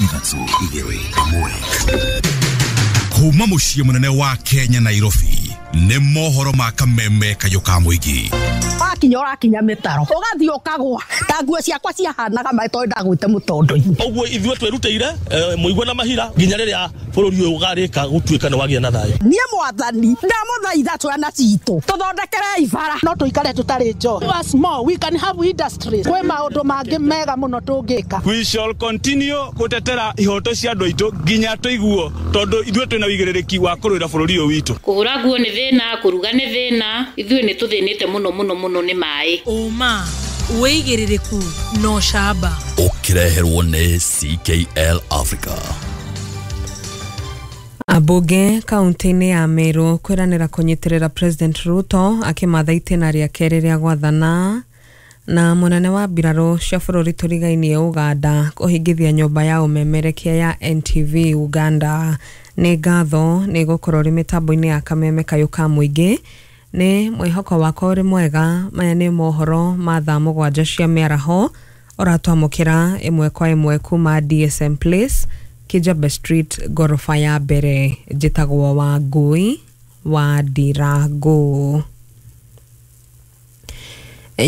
3 2 1. Kuma muciĩ mũnene wa Kenya Nairobi nĩ mohoro ma kameme kayũ ka mũingĩ. Wakinya ũrakinya mĩtaro ũgathiĩ ũkagwa ta nguo ciakwa ciahanaga maĩ tondũ ndagwĩte mũtondo-inĩ. Ũguo ithuĩ twĩrutĩire mũigua na mahira nginya rĩrĩa bũrũri ũyũ ũgarĩka gũtuĩka nĩ wagĩa na thayũ. Niĩ mwathani ndamũthaitha twana citũ tũthondekerei bara no tũikare tũtarĩ njohi. Us more we can have industries. Kwĩ maũndũ mangĩ mega mũno tũngĩka. We shall continue gũtetera ihoto cia andũ aitũ nginya tũiguo tondũ ithuĩ twĩna wĩigĩrĩrĩki wa kũrũĩra bũrũri ũyũ witũ. Kũhũra nguo nĩ thĩna, kũruga nĩ thĩna, ithuĩ nĩ tũthĩnĩte mũno mũno mũno nĩ maĩ. Ũma wĩigĩrĩrĩku no camba. Ũkĩreherwo nĩ CKL Africa. Ambunge kaunti-inĩ ya Meru kwĩranĩra kũnyitĩrĩra President Ruto akĩmatha itĩna rĩa kerĩ rĩa gwathana na mũnene wa mbirarũ cia bũrũri tũrigainie Uganda kũhingithia nyũmba ya ũmemerekia ya NTV Uganda. Nĩ ngatho nĩ gũkorwo rĩ mĩtambo-inĩ ya kameme kayũ ka mũingĩ. Nĩ mwĩhoko wakwa ũrĩ mwega. Maya nĩ mohoro ma thaa 7 cia mĩaraho ũratwamũkĩra ĩmwe kwa ĩmwe kuma DSM Place, Kijabe Street, gorofa ya mbere. Njĩtagwo Wangui wa Ndirangu.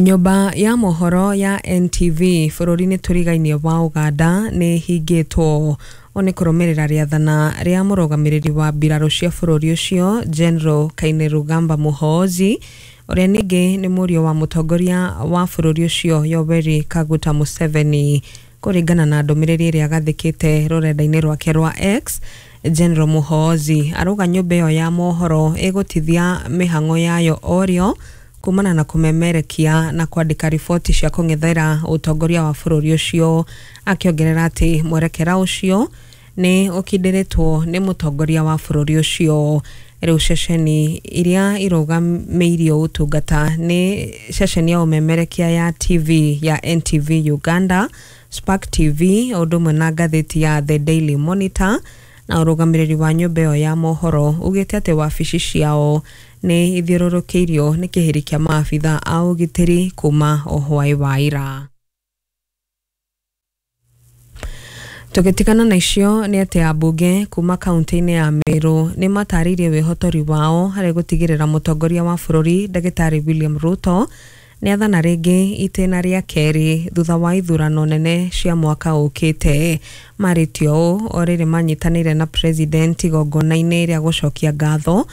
Nyũmba ya mohoro ya NTV bũrũri-inĩ tũrigainie wa Uganda nĩ hingĩtwo nĩ kũrũmĩrĩra rĩathana rĩa mũrũgamĩrĩri wa mbirarũ cia bũrũri ũcio General Kainerugaba Muhoozi ũrĩa ningĩ nĩ mũriũ wa mũtongoria wa bũrũri ũcio Yoweri Kaguta Museveni. Kũringana na ndũmĩrĩri ĩrĩa agathĩkĩte rũrenda-inĩ rwake rwa X, General Muhoozi arauga nyũmba ĩyo ya mohoro ĩgũtithia mĩhang'o yayo orĩo kumana na kũmemerekia na kwandĩka riboti cia kũng'ethera ũtongoria wa bũrũri ũcio, akĩongerera atĩ mwerekera ũcio nĩ ũkindĩrĩtwo nĩ mũtongoria wa bũrũri ũcio. Rĩu ceceni iria irũgamĩirio ũtungata nĩ ceceni ya ũmemerekia ya TV ya NTV Uganda, Spark TV, ũndũ ũmwe na ngathĩti ya The Daily Monitor. Na ũrũgamĩrĩri wa nyũmba ĩyo ya mohoro ugĩte atĩ wabici ciao nĩ ithiũrũrũkĩirio nĩ kĩhĩri kĩa maabitha a ũgitĩri kuma o hwaĩ wa ira. Tũgĩtigana na icio nĩ atĩ ambunge kuma kaunti-inĩ ya Meru nĩ matarĩirie wĩhotori wao harĩ gũtigĩrĩra mũtongoria wa bũrũri Ndagĩtarĩ William Ruto nĩ athana rĩngĩ itĩna rĩa kerĩ thutha wa ithurano nene cia mwaka ũkĩte. Marĩtio ũũ o rĩrĩ manyitanĩire na president igongona-inĩ rĩa gũcokia ngatho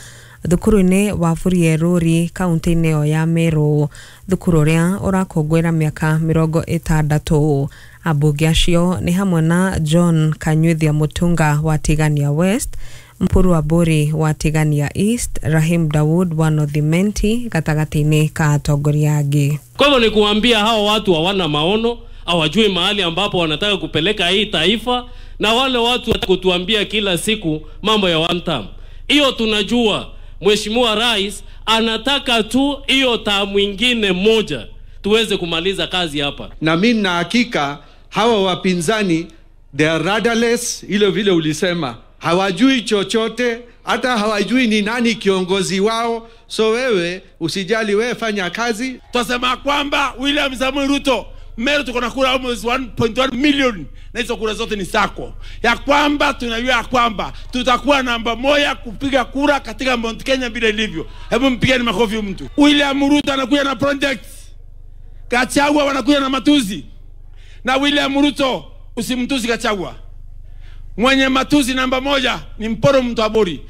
thukuru-inĩ wa Burieruri kaunti-inĩ ĩyo ya Meru, thukuru ũrĩa ũrakũngũĩra mĩaka 60. Ambunge acio nĩ hamwe na John Kanyuithia Mutunga wa Tigania West, Mpuru Aburi wa Tigania East, Rahim Dawood wa North Imenti gatagatĩ-inĩ ka atongoria angĩ. Kwa hivyo ni kuambia hawa watu hawana maono, hawajui mahali ambapo wanataka kupeleka hii taifa, na wale watu kutuambia kila siku mambo ya one term. Hiyo tunajua Mheshimiwa Rais anataka tu hiyo term ingine moja tuweze kumaliza kazi hapa. Na mimi na hakika hawa wapinzani they are rudderless, ile vile ulisema hawajui chochote, hata hawajui ni nani kiongozi wao. So wewe usijali, wewe fanya kazi. Tunasema kwamba William Samoei Ruto, Meru tuko na kura almost 1.1 million na hizo kura zote ni sako. Ya kwamba tunajua kwamba tutakuwa namba moja kupiga kura katika Mount Kenya bila ilivyo. Hebu mpigeni makofi mtu. William Ruto anakuja na projects. Gachagua wanakuja na matuzi. Na William Ruto usimtusi Gachagua. Mwenye matuzi namba moja ni Mporo mtu abori.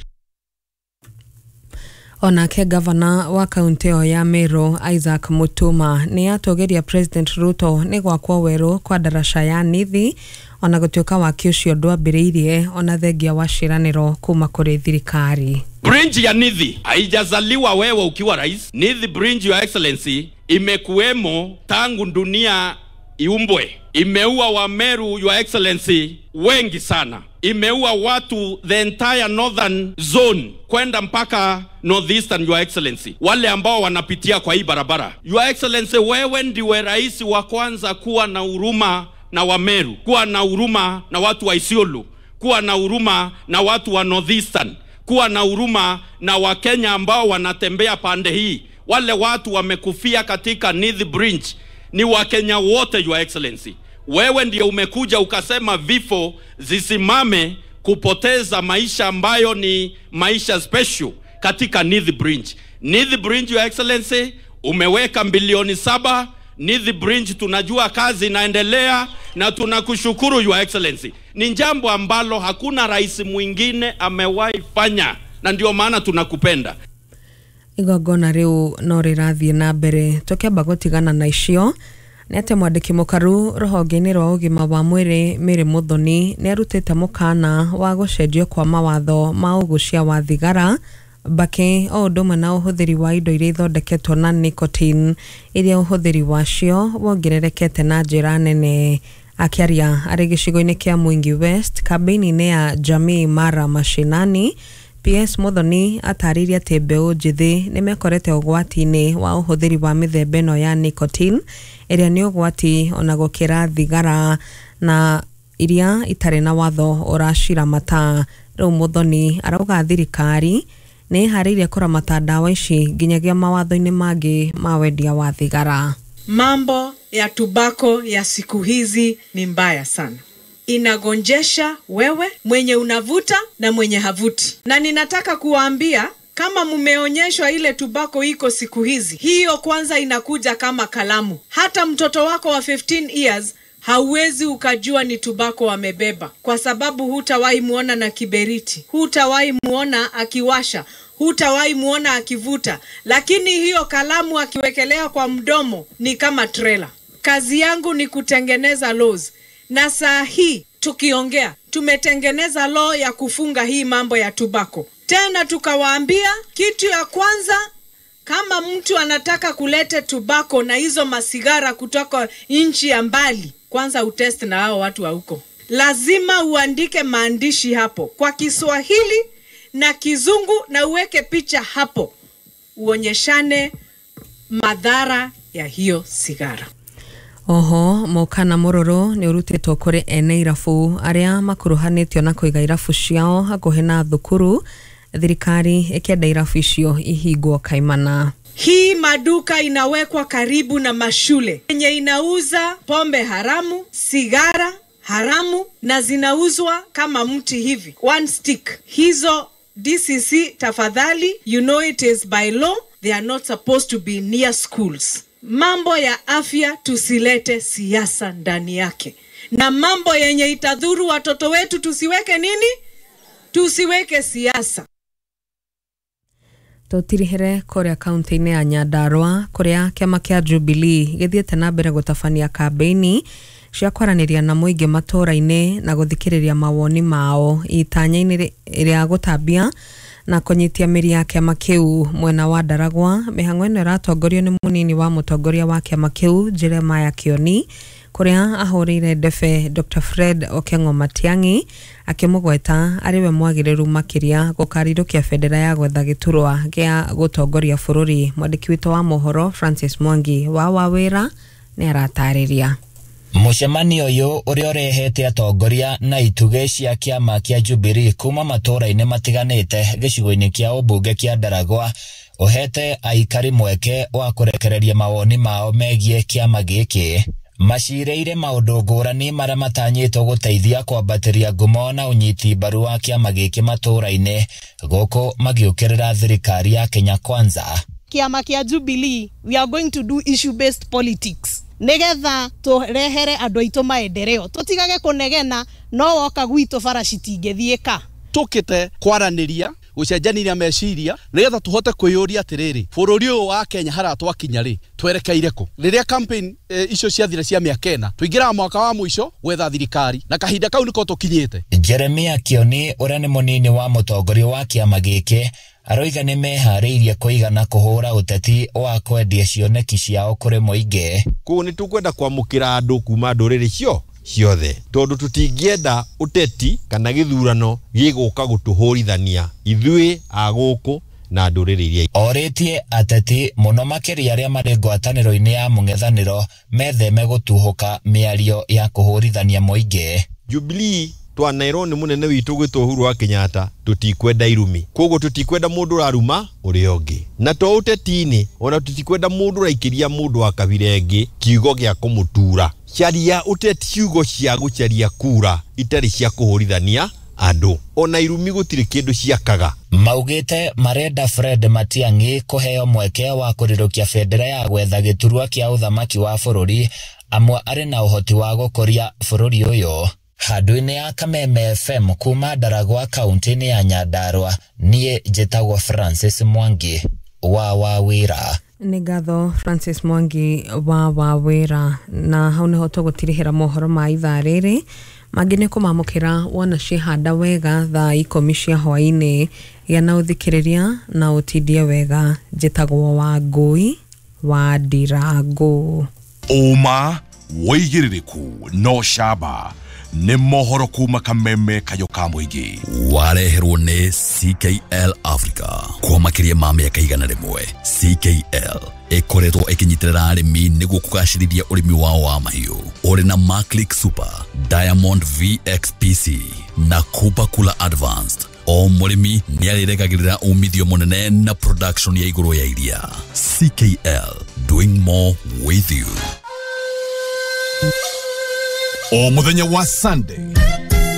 Onake gavana wa kaunti ĩyo ya Meru Isaac Mutuma nĩ atũgĩria President Ruto nĩ gwakwo werũ kwa ndaraca ya Nithi ona gũtuĩka waki ũcio ndwambĩrĩirie ona thengia wa ciĩranĩro kuma kũrĩ thirikari. Bridge ya Nithi haijazaliwa wewe ukiwa rais. Nithi Bridge, Your Excellency, imekuwemo tangu dunia iumbwe. Imeua wa Meru, Your Excellency, wengi sana. Imeua watu the entire northern zone kwenda mpaka northeastern, Your Excellency, wale ambao wanapitia kwa hii barabara. Your Excellency, wewe ndiwe rais wa kwanza kuwa na huruma na wa Meru, kuwa na huruma na watu wa Isiolo, kuwa na huruma na watu wa northeastern, kuwa na huruma na wa Kenya ambao wanatembea pande hii. Wale watu wamekufia katika Nithi Bridge ni wa Kenya wote, Your Excellency. Wewe ndio umekuja ukasema vifo zisimame kupoteza maisha ambayo ni maisha special katika Nithi Bridge. Nithi Bridge, Your Excellency, umeweka bilioni 7. Nithi Bridge tunajua kazi inaendelea na tunakushukuru Your Excellency. Ni jambo ambalo hakuna rais mwingine amewahi fanya na ndio maana tunakupenda. Igongona riu no rĩrathiĩ na mbere tũkĩamba gũtigana na icio nĩ atĩ mwandĩki mũkaru rũhonge-inĩ rwa ũgima wa mwĩrĩ Mary Muthoni nĩ arutĩte mũkana wa gũcenjio kwa mawatho ma ũgucia wa thigara mbakĩ o ũndũ ũmwe na ũhũthĩri wa indo iria ithondeketwo na nicotine iria ũhũthĩri wacio wongererekete na njĩra nene. Akĩaria arĩ gĩcigo-inĩ kĩa Mwingi West kambĩini-inĩ ya Jamii Mara Mashinani, PS Muthoni atarĩirie atĩ mbeũ njĩthĩ nĩ mekorete ũgwati-inĩ wa ũhũthĩri wa mĩthemba ĩno ya nicotine ĩrĩa nĩ ũgwati ona gũkĩra thigara na iria itarĩ na watho ũraciramata. Rĩu Muthoni arauga thirikari nĩ ĩharĩirie kũramata ndawa ici nginyagia mawatho-inĩ mangĩ ma wendia wa thigara. Mambo ya tubako ya siku hizi ni mbaya sana. Inagonjesha wewe mwenye unavuta na mwenye havuti. Na ninataka kuwaambia kama mumeonyeshwa ile tubako iko siku hizi, hiyo kwanza inakuja kama kalamu. Hata mtoto wako wa 15 years hauwezi ukajua ni tubako amebeba, kwa sababu hutawahi muona na kiberiti, hutawahi muona akiwasha, hutawahi muona akivuta, lakini hiyo kalamu akiwekelea kwa mdomo ni kama trailer. Kazi yangu ni kutengeneza laws, na saa hii tukiongea tumetengeneza law ya kufunga hii mambo ya tubako. Tena tukawaambia kitu ya kwanza, kama mtu anataka kulete tubako na hizo masigara kutoka nchi ya mbali, kwanza utest na hao watu wa huko. Lazima uandike maandishi hapo kwa Kiswahili na Kizungu na uweke picha hapo, uonyeshane madhara ya hiyo sigara. Oho mukana mururu ni urutitwo kuri ene irabu aria makuruhanitio na kuiga irabu ciao hakuhi na thukuru, thirikari ikienda irabu icio ihingwo kaimana. Hii maduka inawekwa karibu na mashule yenye inauza pombe haramu, sigara haramu, na zinauzwa kama mti hivi, one stick. Hizo DCC tafadhali, you know it is by law, they are not supposed to be near schools. Mambo ya afya tusilete siasa ndani yake, na mambo yenye itadhuru watoto wetu tusiweke nini? Tusiweke siasa. Tutirihere kuria kaunti-inĩ ya Nyandarua kuria kĩama kĩa Jubilee gĩthiĩte na mbere gũtabania kambĩini cia kwaranĩria na mũingĩ matũũra-inĩ na gũthikĩrĩria mawoni mao itanya-inĩ rĩa gũtambia na kũnyitia mĩri ya kĩama kĩu mwena wa Ndaragwa. Mĩhang'o ĩno ĩratongorio nĩ mũnini wa mũtongoria wa kĩama kĩu Jeremiah Kioni, kuria ahũrĩire ndebe Dr. Fred Okengo Matiang'i akĩmũgweta arĩ we mwagĩrĩru makĩria gũkarirũkia bendera ya gwetha gĩturwa gĩa gũtongoria bũrũri. Mwandĩki witũ wa mohoro Francis Mwangi wa Wawĩra nĩ aratarĩria. Mũcemanio ũyũ ũrĩa ũrehete atongoria na itugĩ cia kĩama kĩa Jubilee kuma matũũra-inĩ matiganĩte gĩcigo-inĩ kĩa ũmbunge kĩa Ndaragwa ũhete aikari mweke wa kũrekereria mawoni mao megiĩ kĩama gĩkĩ. Macirĩire maũndũ ngũrani marĩa matanyĩtwo gũteithia kwambatĩria ngumo na ũnyiti mbaru wa kĩama gĩkĩ matũũra-inĩ, gũkũ magĩũkĩrĩra thirikari ya Kenya Kwanza. Kĩama kĩa Jubilee, we are going to do issue based politics nigetha turehere andũ aitũ maendeleo, tutigage kũnegena no woka gwitũ bara citingĩthiĩka. Tũkĩte kwaranĩria, gũcenjania meciria nigetha tũhote kwĩyũria atĩrĩrĩ, bũrũri ũyũ wa Kenya harĩa twakinya rĩ twerekeire kũ? Rĩrĩa campaign icio ciathira cia mĩaka ĩna, tũingĩraga mwaka wa mũico gwetha thirikari, na kahinda kau nĩko tũkinyĩte. Jeremiah Kioni ũrĩa nĩ mũnini wa mũtongoria wa kĩama gĩkĩ aroiga nĩ meharĩirie kũigana kũhũra ũteti wa kwendia cioneki ciao kũrĩ mũingĩ. Kũu nĩ tũkwenda kwamũkĩra andũ kuma ndũrĩrĩ cio ciothe, tondũ tũtingĩenda ũteti kana gĩthurano gĩgũka gũtũhũrithania ithuĩ a gũkũ na ndũrĩrĩ iria. Orĩtie ateti mũno makĩria arĩa marĩ ngwatanĩro-inĩ ya mũng'ethanĩro metheme gũtuhũka mĩario ya kũhũrithania mũingĩ. Jubilee Twanairwo nĩ mũnene witũ gwĩtwo Uhuru wa Kenyatta, tũtikwenda irumi, koguo tũtikwenda mũndũ ũraruma ũrĩa ũngĩ, na to ũteti-inĩ, ona tũtikwenda mũndũ ũraikĩria mũndũ wa kabira ĩngĩ kiugo gĩa kũmũtura. Caria ũteti ciugo cia gũcaria kura itarĩ cia kũhũrithania andũ, ona irumi gũtirĩ kĩndũ ciakaga. Maugĩte marenda Fred Matiang'i kũheo mweke wa kũrirũkia bendera ya gwetha gĩturwa kĩa ũthamaki wa bũrũri, amwe arĩ na ũhoti wa gũkũria bũrũri ũyũ. Handũ-inĩ ya Kameme FM kuma Ndaragwa kaunti-inĩ ya Nyandarua, niĩ njĩtagwo Francis Mwangi wa Wawĩra. Nĩ ngatho Francis Mwangi wa Wawĩra. Na hau nĩho tũgũtirihĩra mohoro ma ithaa rĩrĩ. Mangĩ nĩ kũmamũkĩra wona ciĩhanda wega thaa 10 cia hwaĩ-inĩ. Gĩa na ũthikĩrĩria na ũtindie wega. Njĩtagwo Wangũi wa Ndirangũ. Ũma wĩigĩrĩrĩku no camba nĩ mohoro kuma Kameme kayũ ka mũingĩ. Wareherwo nĩ CKL Africa kwa makĩria ma mĩaka 100. CKL ĩkoretwo ĩkĩnyitĩrĩra arĩmi nĩguo kũgacĩrithia ũrĩmi wao wa mahiũ. Ũrĩ na Maclick Super, Diamond VXPC na Cooper Cooler Advanced. O mũrĩmi nĩarĩregagĩrĩra umithio mũnene na production ya igũrũ ya iria. CKL, doing more with you. O mũthenya wa Sunday